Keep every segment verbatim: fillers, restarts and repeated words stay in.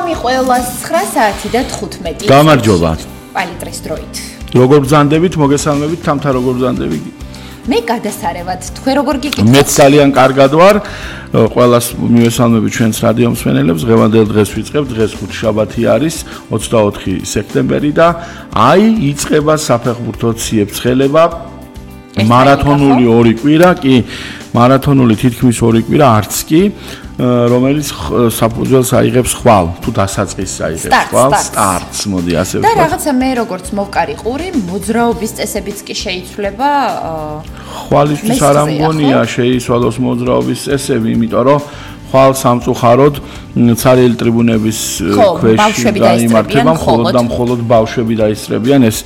მოგესალმი ყველას ცხრა საათი და თხუთმეტი. გამარჯობა. პალიტრის დროით. როგორ ბრძანდებით, მოგესალმებით, თამთა როგორ ბრძანდები? მე გადასარევად, თქვენ როგორ გიგიქვთ? მეც ძალიან კარგად ვარ. ყველას მივესალმები ჩვენს რადიო მსმენელებს. ღევანდელ დღეს ვიწყებთ, დღეს ხუთშაბათი არის, ოცდაოთხი სექტემბერი და აი იწყება საფეხბურთო ციებ-ცხელება. მარათონული ორი კვირა, კი, მარათონული თითქმის ორი კვირა არც კი, რომელიც საფუძველს აიღებს ხვალ, თუ დასაწყისს აიღებს ხვალ, სტარტს, მოდი ასე ვთქვა. და რაღაცა მე როგორც მოვკარი ყური, მოძრაობის წესებიც კი შეიცვლება. ხვალისთვის არ ამგონია შეიცვალოს მოძრაობის წესები, იმიტომ რომ ხვალ სამწუხაროდ ცარიელი ტრიბუნების ქვეშ გაიმართება, მხოლოდ და მხოლოდ ბავშვები დაისწრებიან. ეს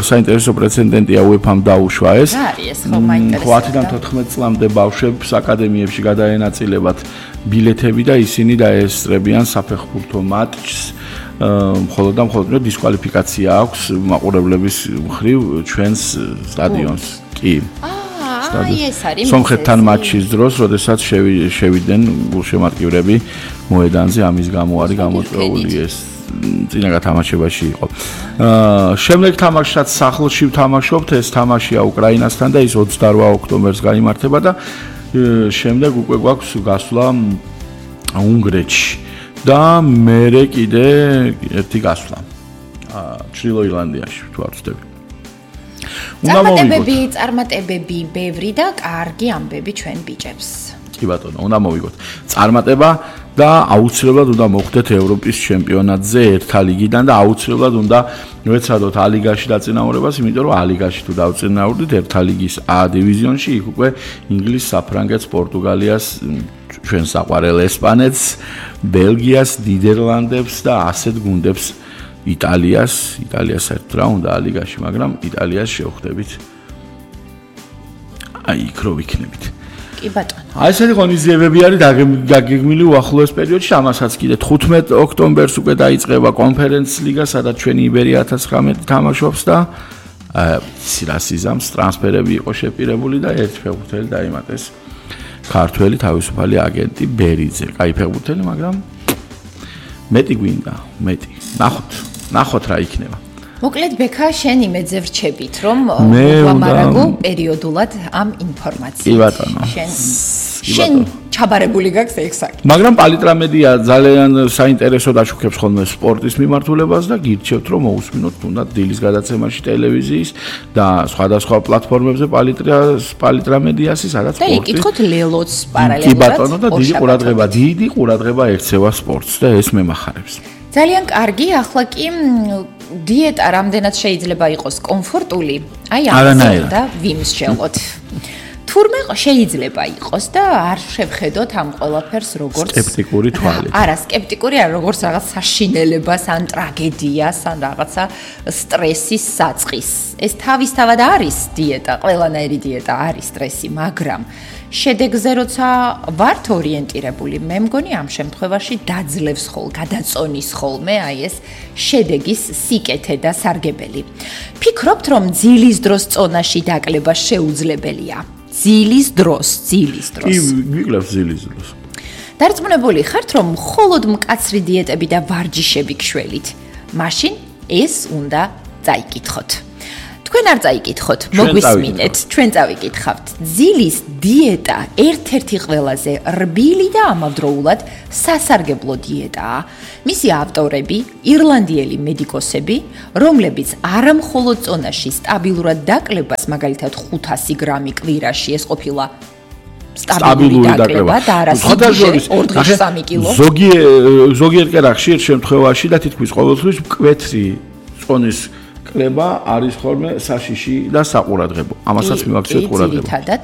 საინტერესო პრეცედენტია უეფამ დაუშვა ეს. ათიდან თოთხმეტ წლამდე ბავშვებს აკადემიებში გადაენაწილებათ ბილეთები და ისინი დაესწრებიან საფეხბურთო მატჩს. მხოლოდ და მხოლოდ დისკვალიფიკაცია აქვს მაყურებლების მხრივ ჩვენს სტადიონს. კი. სომხეთთან მატჩის დროს, როდესაც შევიდნენ გულშემატკივრები მოედანზე, ამის გამო არის გამოწვეული ეს წინა გათამაშებაში იყო. შემდეგ თამაშსაც სახლში ვთამაშობთ, ეს თამაშია უკრაინასთან და ის ოცდაორ ოქტომბერს გაიმართება და შემდეგ უკვე გვაქვს გასვლა უნგრეთში და მერე კიდე ერთი გასვლა ჩრდილო ირლანდიაში, თუ არ ვცდები. წარმატებები, წარმატებები ბევრი და კარგი ამბები ჩვენ ბიჭებს. კი ბატონო, უნდა მოვიგოთ. წარმატება და აუცილებლად უნდა მოხდეთ ევროპის ჩემპიონატზე ერთა ლიგიდან და აუცილებლად უნდა ვეცადოთ ალიგაში დაწინაურებას, იმიტომ რომ ალიგაში თუ დავწინაურდით ერთა ლიგის A დივიზიონში, იქ უკვე ინგლისს, საფრანგეთს, პორტუგალიას, ჩვენ საყვარელ ესპანეთს, ბელგიას, ნიდერლანდებს და ასეთ გუნდებს იტალიას, იტალიას საერთოდ რა უნდა ალიგაში, მაგრამ იტალიას შევხვდებით. აი, იქ რო ვიქნებით. კი ბატონო. აი ესეთი ღონისძიებები არის გაგეგმილი უახლოეს პერიოდში, ამასაც კიდე თხუთმეტ ოქტომბერს უკვე დაიწყება კონფერენცის ლიგა, სადაც ჩვენი იბერია ათას ცხრამეტი თამაშობს და სირასიზამს ტრანსფერები იყო შეპირებული და ერთ ფეხბურთელი დაიმატეს. ქართველი თავისუფალი აგენტი ბერიძე. კაი ფეხბურთელი, მაგრამ მეტი გვინდა, მეტი. ნახოთ, ნახოთ რა იქნება. მოკლედ ბექა შენ იმედზე ვრჩებით, რომ ვამარაგო პერიოდულად ამ ინფორმაციით. კი ბატონო. შენ შენ ჩაბარებული გაქვს ეგ საკითხი. მაგრამ პალიტრა მედია ძალიან საინტერესო დაშუქებს ხოლმე სპორტის მიმართულებას და გირჩევთ რომ მოусმინოთ თუნდაც დილის გადაცემაში ტელევიზიის და სხვადასხვა პლატფორმებზე პალიტრა პალიტრა მედიასი, სადაც სპორტი. და იკითხოთ ლელოც პარალელურად. კი ბატონო და დიდი ყურადღება, დიდი ყურადღება ექცევა სპორტს და ეს მემახარებს. ძალიან კარგი, ახლა კი დიეტა რამდენად შეიძლება იყოს კომფორტული, აი ამაზე და ვიმსჯელოთ. თურმე შეიძლება იყოს და არ შევხედოთ ამ ყველაფერს როგორც სკეპტიკური თვალით. არა, სკეპტიკური არა, როგორც რაღაც საშინელებას, ან ტრაგედიას, ან რაღაცა სტრესის საწყის. ეს თავისთავად არის დიეტა, ყველანაირი დიეტა არის სტრესი, მაგრამ შედეგზე როცა ვართ ორიენტირებული, მე მგონი ამ შემთხვევაში დაძლევს ხოლ, გადაწონის ხოლმე აი ეს შედეგის სიკეთე და სარგებელი. ფიქრობთ, რომ ძილის დროს წონაში დაკლება შეუძლებელია? ძილის დროს, ძილის დროს. კი, ვიკლებ ძილის დროს. დარწმუნებული ხართ, რომ მხოლოდ მკაცრი დიეტები და ვარჯიშები გშველით? მაშინ ეს უნდა წაიკითხოთ. თქვენ არ წაიკითხოთ, მოგვისმინეთ, ჩვენ წავიკითხავთ. ძილის დიეტა ერთ-ერთი ყველაზე რბილი და ამავდროულად სასარგებლო დიეტაა. მისი ავტორები, ირლანდიელი მედიკოსები, რომლებიც არა მხოლოდ წონაში სტაბილურად დაკლებას, მაგალითად ხუთასი გრამი კვირაში, ეს ყოფილა სტაბილური დაკლება და არა სიგიჟე ორ დღეში სამი კილო. ზოგიერთ კერა ხშირ შემთხვევაში და თითქმის ყოველთვის მკვეთრი წონის კლება არის ხოლმე საშიში და საყურადღებო. ამასაც მივაქციოთ ყურადღება. ძირითადად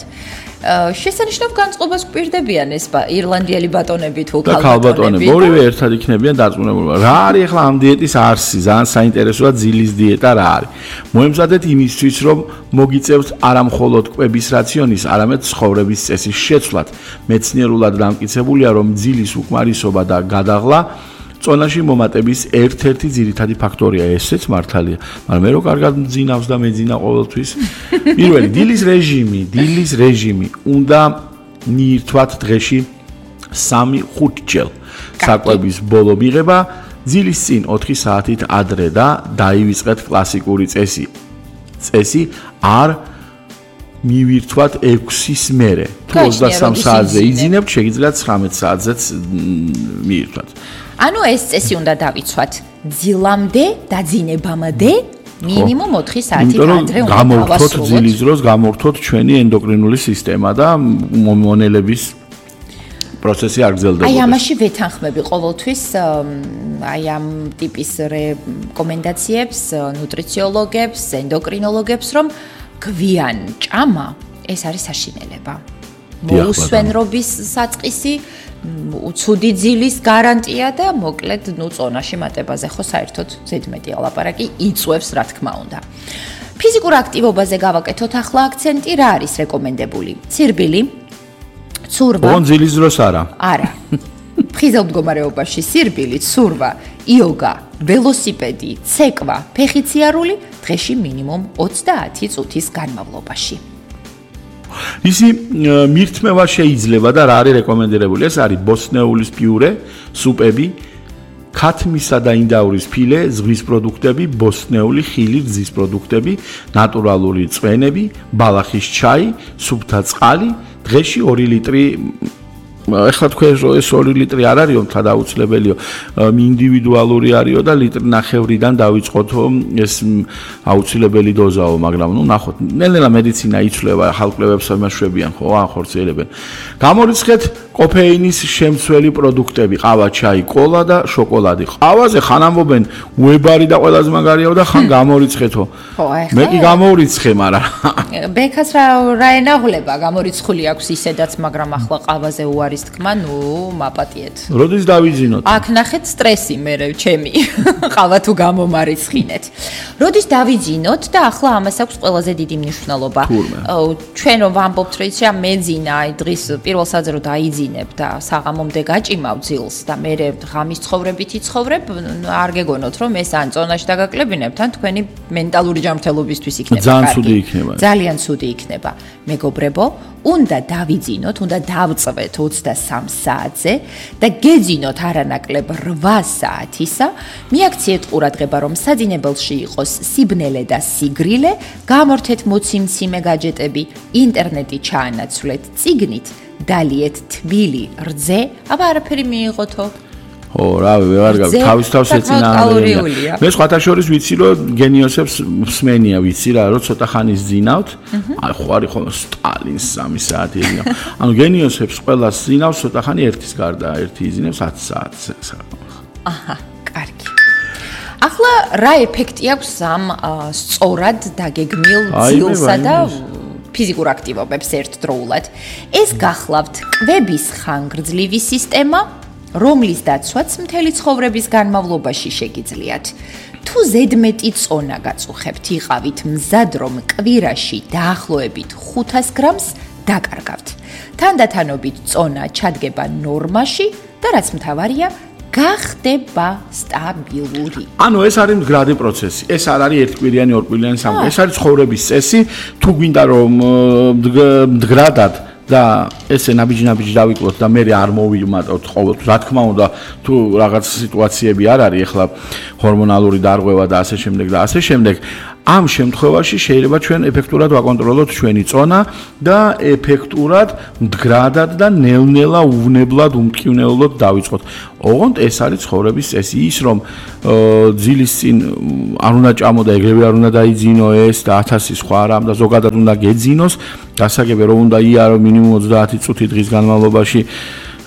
შესანიშნავ განწყობას გვპირდებიან ეს ირლანდიელი ბატონები თუ ქალბატონები. ორივე ერთად იქნებიან დარწმუნებული. რა არის ახლა ამ დიეტის არსი? ძალიან საინტერესოა ძილის დიეტა რა არის. მოემზადეთ იმისთვის, რომ მოგიწევთ არა მხოლოდ კვების რაციონის, არამედ ცხოვრების წესის შეცვლად. მეცნიერულად დამტკიცებულია, რომ ძილის უკმარისობა და გადაღლა წონაში მომატების ერთ-ერთი ძირითადი ფაქტორია, ესეც მართალია. მაგრამ მე რო კარგად მძინავს და მეძინა ყოველთვის. პირველი დილის რეჟიმი, დილის რეჟიმი უნდა მიირთვათ დღეში სამი ხუთი ჯერ საკვების ბოლო მიღება ძილის წინ ოთხი საათით ადრე და დაივიწყეთ კლასიკური წესი წესი არ მივირთვათ ექვსის მერე თუ ოცდასამ საათზე იძინებთ შეგიძლიათ ცხრამეტ საათზეც მიირთვათ ანუ ეს წესი უნდა დავიცვათ ძილამდე დაძინებამდე მინიმუმ ოთხი საათით ადრე უნდა გამოვხოთ ძილის დროს გამოვხოთ ჩვენი ენდოკრინული სისტემა და მონელების პროცესი არ გრძელდებოდეს. აი ამაში ვეთანხმები ყოველთვის აი ამ ტიპის რეკომენდაციებს ნუტრიციოლოგებს, ენდოკრინოლოგებს, რომ გვიან ჭამა ეს არის საშინელება. მოუსვენრობის საწყისი, უცუდი ძილის გარანტია და მოკლედ ნუ წონაში მატებაზე ხო საერთოდ ზედმეტი ალაპარაკი იწვევს რა თქმა უნდა. ფიზიკურ აქტივობაზე გავაკეთოთ ახლა აქცენტი, რა არის რეკომენდებული? ცირბილი ცურვა. ოღონდ ძილის დროს არა. არა. ფხიზელ მდგომარეობაში სირბილი, ცურვა, იოგა, ველოსიპედი, ცეკვა, ფეხიციარული დღეში მინიმუმ ოცდაათი წუთის განმავლობაში. ისი მირთმევა შეიძლება და რა არის რეკომენდებული? ეს არის ბოსტნეულის პიურე, სუპები, ქათმისა და ინდაურის ფილე, ზღვის პროდუქტები, ბოსტნეული ხილი, რძის პროდუქტები, ნატურალური წვენები, ბალახის ჩაი, სუფთა წყალი დღეში ორი ლიტრი ეხლა თქვენ ეს ორი ლიტრი არ არისო თადაუცლებელიო ინდივიდუალური არისო და ლიტრი ნახევრიდან დავიწყოთო ეს აუცილებელი დოზაო მაგრამ ნუ ნახოთ ნელ-ნელა მედიცინა იცვლება ხალხლებებს ამაშვებიან ხო ახორციელებენ გამორიცხეთ კოფეინის შემცველი პროდუქტები ყავა ჩაი კოლა და შოკოლადი ყავაზე ხან ამბობენ უებარი და ყველაზე მაგარიაო და ხან გამორიცხეთო მე კი გამორიცხე მაგრამ ბექას რა რა ენაღლება გამორიცხული აქვს ისედაც მაგრამ ახლა ყავაზე უარი თქმა, ნუ მაპატიეთ. როდის დავიძინოთ? აქ ნახეთ სტრესი მე ჩემი. ყავა თუ გამომარიცხინეთ. როდის დავიძინოთ და ახლა ამას აქვს ყველაზე დიდი მნიშვნელობა. ჩვენ რომ ვამბობთ რომ იცი ამ მეძინა, აი დღის პირველ საათზე რომ დაიძინებ და საღამომდე გაჭიმავ ძილს და მე ღამის ცხოვრებით იცხოვრებ, არ გეგონოთ რომ ეს ან წონაში დაგაკლებინებთ, ან თქვენი მენტალური ჯანმრთელობისთვის იქნება. ძალიან ცუდი იქნება. ძალიან ცუდი იქნება. მეგობრებო, უნდა დავიძინოთ, უნდა დავწვეთ ოცდასამ საათზე და გეძინოთ არანაკლებ რვა საათისა, მიაქციეთ ყურადღება, რომ საძინებელში იყოს სიბნელე და სიგრილე, გამორთეთ მოციმციმე გაჯეტები, ინტერნეტი ჩაანაცვლეთ წიგნით, დალიეთ თბილი რძე, აბა არაფერი მიიღოთო. ო, რავი, ვეღარ გავი, თავის თავს ეწინააღმდეგებია. მე სხვათა შორის ვიცი, რომ გენიოსებს მსმენია ვიცი რა, რომ ცოტა ხანის ძინავთ. აი, ხო არის ხოლმე სტალინს სამი საათი ეძინა. ანუ გენიოსებს ყველას ძინავს ცოტა ხანი ერთის გარდა, ერთი იძინებს ათი საათს. აჰა, კარგი. ახლა რა ეფექტი აქვს ამ სწორად დაგეგმილ ძილსა და ფიზიკურ აქტივობებს ერთდროულად? ეს გახლავთ კვების ხანგრძლივი სისტემა, რომლის დაცვაც მთელი ცხოვრების განმავლობაში შეგიძლიათ. თუ ზედმეტი წონა გაწუხებთ, იყავით მზად, რომ კვირაში დაახლოებით ხუთას გრამს დაკარგავთ. თანდათანობით წონა ჩადგება ნორმაში და რაც მთავარია, გახდება სტაბილური. ანუ ეს არის მდგრადი პროცესი. ეს არ არის ერთკვირიანი, ორკვირიანი, სამკვირიანი. ეს არის ცხოვრების წესი. თუ გვინდა რომ მდგრადად და ესე ნაბიჯ-ნაბიჯ დავიკლოთ და მე არ მოვიმატოთ ყოველთვის. რა თქმა უნდა, თუ რაღაც სიტუაციები არ არის, ახლა ჰორმონალური დარღვევა და ასე შემდეგ და ასე შემდეგ, ამ შემთხვევაში შეიძლება ჩვენ ეფექტურად ვაკონტროლოთ ჩვენი წონა და ეფექტურად მდგრადად და ნელ-ნელა უვნებლად უმტკივნეულოდ დავიწყოთ. ოღონდ ეს არის ცხოვრების წესი, ის რომ ძილის წინ არ უნდა ჭამო და ეგრევე არ უნდა დაიძინო ეს და ათასი სხვა რამ და ზოგადად უნდა გეძინოს, გასაგებია რომ უნდა იარო მინიმუმ ოცდაათი წუთი დღის განმავლობაში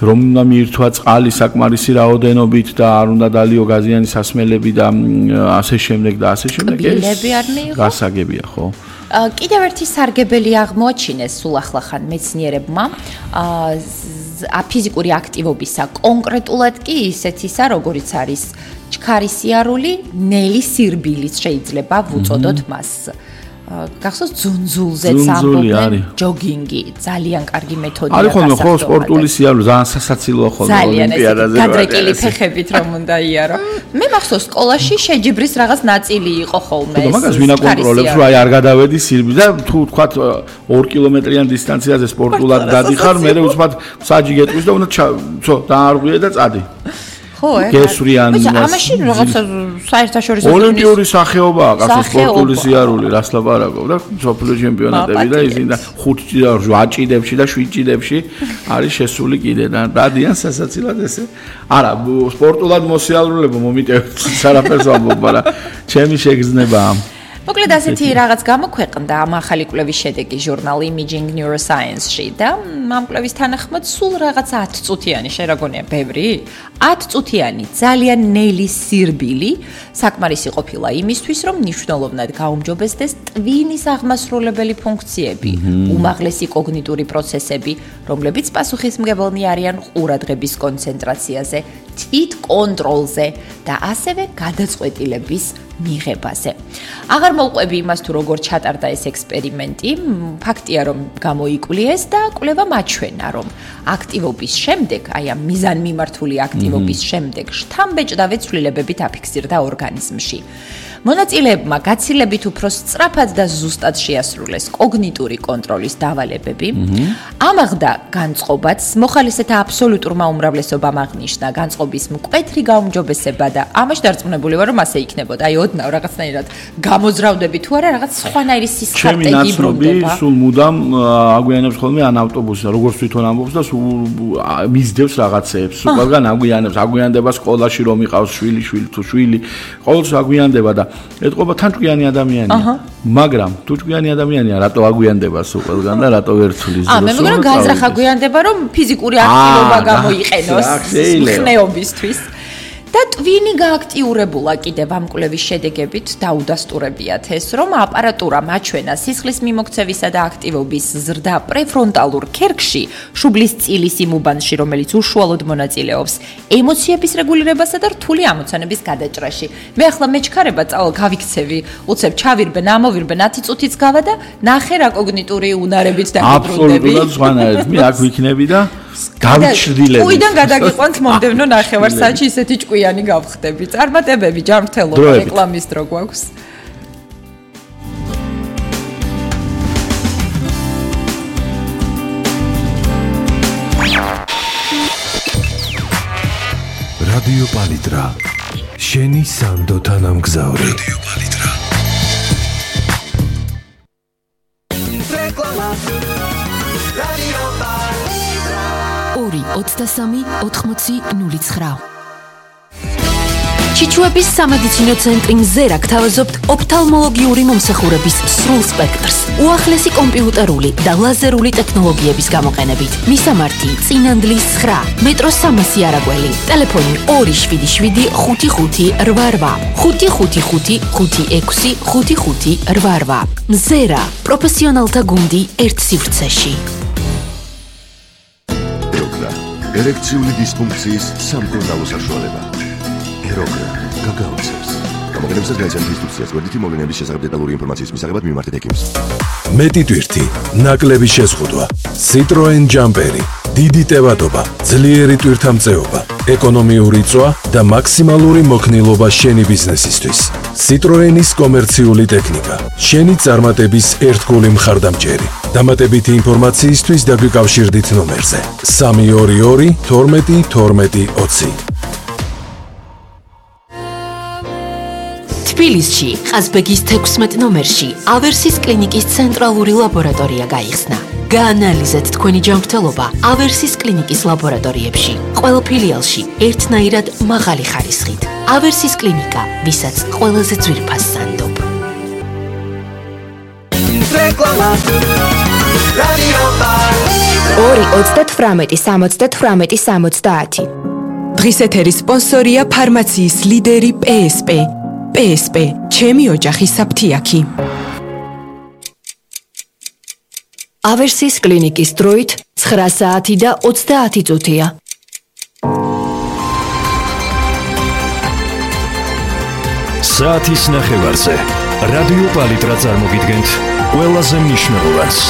რომ უნდა მიირთვა წყალი საკმარისი რაოდენობით და არ უნდა დალიო გაზიანი სასმელები და ასე შემდეგ და ასე შემდეგ ეს გასაგებია ხო? კიდევ ერთი სარგებელი აღმოაჩინეს სულ ახლახან მეცნიერებმა ფიზიკური აქტივობისა კონკრეტულად კი ისეთისა როგორიც არის ჩქარისიარული, ნელი სირბილიც შეიძლება ვუწოდოთ მას. გახსოვს ძუნძულზეც ამბობენ ჯოგინგი ძალიან კარგი მეთოდია არის ხოლმე ხო სპორტული სიარული ძალიან სასაცილოა ხოლმე ოლიმპიადაზე გადრეკილი ფეხებით რომ უნდა იარო მე მახსოვს სკოლაში შეჯიბრის რაღაც ნაწილი იყო ხოლმე ეს მაგას ვინ აკონტროლებს რომ აი არ გადავედი სირბი და თუ თქვათ ორ კილომეტრიან დისტანციაზე სპორტულად გადიხარ მე უცბად საჯი გეტყვის და უნდა ცო დაარღვიე და წადი ხო, გესვრიან ამაში რაღაცა საერთაშორისო ოლიმპიური სახეობაა, კაცო სპორტული სიარული, რას ლაპარაკობ და სოფლიო ჩემპიონატები და ისინი და ხუთ ჭიდებში და შვიდ ჭიდებში არის შესული კიდე და დადიან სასაცილად ესე. არა, სპორტულად მოსიარულეობა მომიტევთ არაფერს ვამბობ, მაგრამ ჩემი შეგრძნებაა. მოკლედ ასეთი რაღაც გამოქვეყნდა ამ ახალი კვლევის შედეგი ჟურნალ Imaging Neuroscience-ში და ამ კვლევის თანახმად სულ რაღაც ათი წუთიანი შეგაგონია ბევრი? ათი წუთიანი ძალიან ნელი სირბილი საკმარისი ყოფილა იმისთვის, რომ მნიშვნელოვნად გაუმჯობესდეს ტვინის აღმასრულებელი ფუნქციები, უმაღლესი კოგნიტური პროცესები, რომლებიც პასუხისმგებელნი არიან ყურადღების კონცენტრაციაზე, თვით კონტროლზე და ასევე გადაწყვეტილების მიღებაზე. აღარ მოვყვები იმას თუ როგორ ჩატარდა ეს ექსპერიმენტი, ფაქტია რომ გამოიკვლიეს და კვლევა მაჩვენა რომ აქტივობის შემდეგ, აი ამ მიზანმიმართული აქტივობის შემდეგ შთამბეჭდავე ცვლილებები დაფიქსირდა ორგანიზმში. მონაწილეებმა გაცილებით უფრო სწრაფად და ზუსტად შეასრულეს კოგნიტური კონტროლის დავალებები. ამაღდა განწყობაც, მოხალისეთა აბსოლუტურმა უმრავლესობამ აღნიშნა განწყობის მკვეთრი გაუმჯობესება და ამაში დარწმუნებული ვარ რომ ასე იქნებოდა. აი ოდნავ რაღაცნაირად გამოძრავდები თუ არა რაღაც სხვანაირი სისხარტეგი ბრუნდება. სულ მუდამ აგვიანებს ხოლმე ან ავტობუსი, როგორც თვითონ ამბობს და სულ მისდევს რაღაცეებს. სულ ყველგან აგვიანებს, აგვიანდება სკოლაში რომ იყავს შვილი, შვილი თუ შვილი, ყოველთვის აგვიანდება და ეთყობა თან ჭკვიანი ადამიანია. მაგრამ თუ ჭკვიანი ადამიანია, რატო აგვიანდება სულ ყველგან და რატო ვერ ცვლის ზრდას? აა, მე მგონი გააზრახ აგვიანდება, რომ ფიზიკური აქტივობა გამოიყენოს ხნეობისთვის. და ტვინი გააქტიურებულა კიდევ ამ კვლევის შედეგებით დაუდასტურებიათ ეს, რომ აპარატურა მაჩვენა სისხლის მიმოქცევისა და აქტივობის ზრდა პრეფრონტალურ ქერქში, შუბლის წილის იმ უბანში, რომელიც უშუალოდ მონაწილეობს ემოციების რეგულირებასა და რთული ამოცანების გადაჭრაში. მე ახლა მეჩქარება წავალ გავიქცევი, უცებ ჩავირბენ, ამოვირბენ ათი წუთიც გავა და ნახე რა კოგნიტური უნარებით დაგიბრუნდები. აბსოლუტურად სხვანაირად. მე აქ ვიქნები და გავჩრდილები. უიდან გადაგიყვანთ მომდევნო ნახევარსაათში ისეთი ჭკვიანი გავხდები. წარმატებები, ჯანმრთელობა, რეკლამის დრო გვაქვს. რადიო პალიტრა. შენი სანდო თანამგზავრი. რადიო პალიტრა. რეკლამა. რადიო პალიტრა. ორი ოცდასამი ოთხმოცი ნული ცხრა. ჩიჩუების სამედიცინო წენტრი მზერა გთავაზობთ ოფთალმოლოგიური მომსახურების სრულ სპექტრს, უახლესი კომპიუტერული და ლაზერული ტექნოლოგიების გამოყენებით. მისამართი წინანდლის ცხრა, მეტროს სამასი არაგველი, ტელეფონი ორი შვიდი შვიდი ხუთი ხუთი რვა რვა, ხუთი ხუთი ხუთი ხუთი ექვსი ხუთი ხუთი რვა რვა. მზერა, პროფესიონალთა გუნდი ერთ სივრცეში. ერექციული დისფუნქციის სამკურნალო საშუალება. ეროგრა გაგაოცებს. გამოყენებისას გაიცანთ ინსტრუქციას, გვერდითი მოვლენების შესახებ დეტალური ინფორმაციის მისაღებად მიმართეთ ექიმს. მეტი ტვირთი, ნაკლები შეზღუდვა, Citroen Jumperi, დიდი ტევადობა, ძლიერი ტვირთამწეობა, ეკონომიური წვა და მაქსიმალური მოქნილობა შენი ბიზნესისთვის. Citroenis კომერციული ტექნიკა, შენი წარმატების ერთგული მხარდამჭერი. დამატებითი ინფორმაციისთვის დაგვიკავშირდით ნომერზე სამი ორი ორი თორმეტი თორმეტი ოცი. თბილისში, ყაზბეგის თექვსმეტ ნომერში, ავერსის კლინიკის ცენტრალური ლაბორატორია გაიხსნა. გაანალიზეთ თქვენი ჯანმრთელობა ავერსის კლინიკის ლაბორატორიებში. ყველა ფილიალში ერთნაირად მაღალი ხარისხით. ავერსის კლინიკა, ვისაც ყველაზე ძვირფას სანდობ. რეკლამა. რადიო პალიტრა. ორი ოცდათვრამეტი სამოცდათვრამეტი სამოცდაათი. დღის ეთერის სპონსორია ფარმაციის ლიდერი პი ეს პი. პი ეს პი, ჩემი ოჯახი საფთიაქი. ავერსის კლინიკის დროით ცხრა საათი და ოცდაათი წუთია. საათის ნახევარზე რადიო პალიტრა წარმოგიდგენთ ყველაზე მნიშვნელოვანს.